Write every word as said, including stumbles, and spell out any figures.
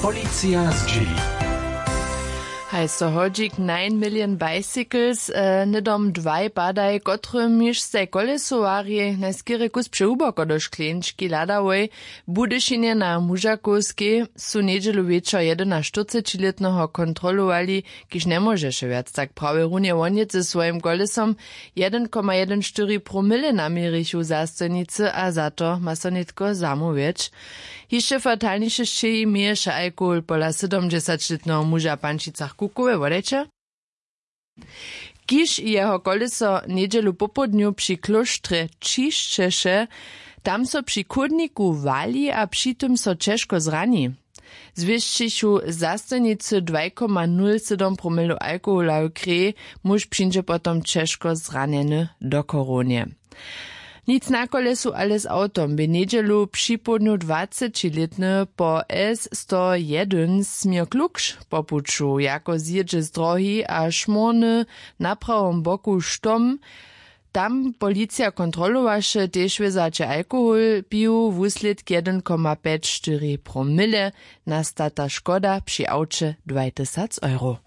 Policija zdźěli. Haj so hodźik nine million bicycles, hnydom dwaj padaj, kotrymiž staj kolesowarjej najskerje kus přehuboko do škleńčki hladałoj. W budyšinje na mužakowskej su njedźelu wječor jedynaštyrcećilětneho kontrolowali, kiž njemóžeše wjac tak prawje runje wonjec ze swojim kolesom. Jedyn koma jedyn štyri promile naměrichu zastojnicy a za to ma so nětko zamołwjeć. Hišće fatalniše sćěhi měješe alkohol pola sydomdźesaćlětneho muža w pančicach kukowe wodajće, kiž jeho koleso njedźelu popołdnju při klóštrje ćišćeše. Tam so při chódniku wali a při tym so ćežko zrani. Zwěsćichu zastojnicy dwaj koma nul sydom promilow alkohola w kreji. Muž přińdźe potom ćežko zranjeny do chorownje. Nic na kolesu ale z awtom bě njedźelu připołdnju dwacećilětny po s sto jedyn směr klukš po puću jako zjědźe z drohi a šmórny na prawom boku štom. Tam policija kontrolowaše tež wězaće alkohol piju wuslědk jedyn koma pjeć štyri promile. Nastata škoda při awće dwaj tysac euro.